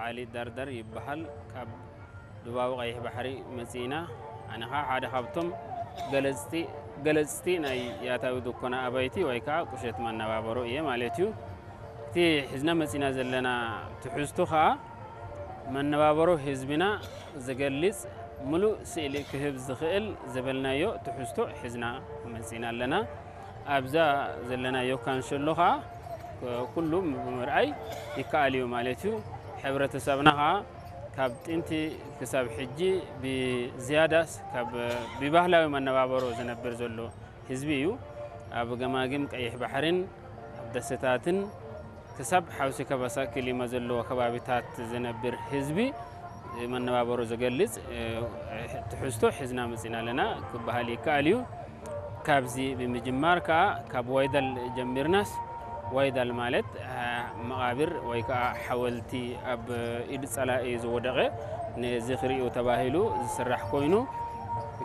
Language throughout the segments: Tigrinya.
ዓሊ ዳርዳር ይበሃል። ካብ ዱባዊ ቀይሕ ባሕሪ መጺእና። ኣነ ኸዓ ሓደ ካብቶም ገለጽቲ ገለጽቲ ናይ ያታዊ ድኮና ኣባይቲ ወይ ከዓ ቁሸት መነባበሮ እየ ማለት እዩ። እቲ ሒዝና መጺእና ዘለና ትሕዝቶ ኸዓ መነባበሮ ህዝብና ዝገልጽ፣ ምሉእ ስእሊ ክህብ ዝኽእል ዝበልናዮ ትሕዝቶ ሒዝና መጺእና ኣለና። ኣብዛ ዘለናዮ ካንሸሎ ኸዓ ኩሉ ብምርኣይ ይከኣል እዩ ማለት እዩ። ሕብረተሰብና ኸዓ ካብ ጥንቲ ክሳብ ሕጂ ብዝያዳስ ካብ ብባህላዊ መነባበሮ ዝነብር ዘሎ ህዝቢ እዩ። ኣብ ገማግም ቀይሕ ባሕርን ኣብ ደሴታትን ክሳብ ሓውሲ ከባሳ ክሊማ ዘለዎ ከባቢታት ዝነብር ህዝቢ መነባበሮ ዝገልጽ፣ እ፣ ትሕዝቶ ሒዝና መጺና ኣለና ክበሃል ይከኣል እዩ። ካብዚ ብምጅማር ከኣ ካብ ዋይዳል ጀሚርናስ፣ ዋይዳል ማለት፣ እ፣ መቓብር ወይ ከኣ ሓወልቲ ኣብ ኢድ ጸላኢ ዝወደቐ ንዝኽሪኡ ተባሂሉ ዝስራሕ ኮይኑ፣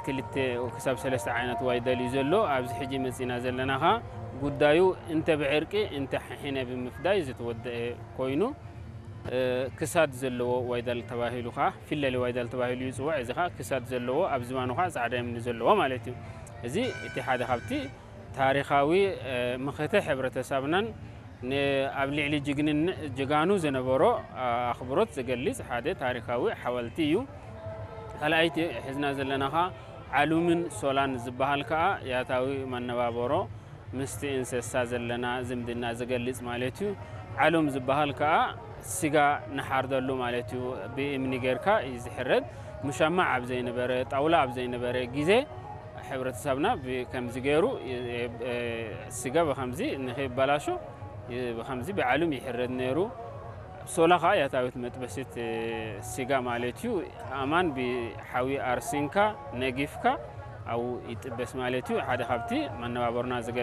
ክልተ ክሳብ ሰለስተ ዓይነት ዋይዳል እዩ ዘሎ። ኣብዚ ሕጂ መጺና ዘለና ከኣ ጉዳዩ እንተ ብዕርቂ እንተ ሕነ ብምፍዳይ ዝተወደአ ኮይኑ፣ እ፣ ክሳድ ዘለዎ ዋይዳል ተባሂሉ ከኣ፣ ፊለሊ ዋይዳል ተባሂሉ ይጽዋዕ። እዚ ከኣ ክሳድ ዘለዎ፣ ኣብ ዝባኑ ከኣ ጻዕዳ እምኒ ዘለዎ ማለት እዩ። እዚ እቲ ሓደ ካብቲ ታሪኻዊ፣ እ፣ ምኽተ ሕብረተሰብናን ን-፣ ኣብ ልዕሊ ጅግንን-፣ ጀጋኑ ዝነበሮ፣ እ፣ ኣኽብሮት ዝገልጽ ሓደ ታሪኻዊ ሓወልቲ እዩ። ካልኣይቲ ሒዝና ዘለና ከኣ ዓሉምን ሶላን ዝበሃል ከኣ ያታዊ መነባበሮ ምስቲ እንስሳ ዘለና ዝምድና ዝገልጽ ማለት እዩ። ዓሉም ዝበሃል ከኣ ስጋ ንሓርደሉ ማለት እዩ። ብእምኒ ጌርካ እዩ ዝሕረድ። ሙሻማዕ ኣብ ዘይነበረ፣ ጣውላ ኣብ ዘይነበረ ግዜ፣ ሕብረተሰብና ብከምዚ ገይሩ፣ እ፣ እ፣ ስጋ ብከምዚ ንኸይበላሾ፣ እ፣ ብከምዚ ብዓሉም ይሕረድ ነይሩ። ሶላ ከኣ ያታዊት መጥበሲት፣ እ፣ ስጋ ማለት እዩ። ኣማን ብሓዊ ኣርሲንካ፣ ነጊፍካ፣ ኣብኡ ይጥበስ ማለት እዩ። ሓደ ካብቲ መነባበሮና ዝገልጽ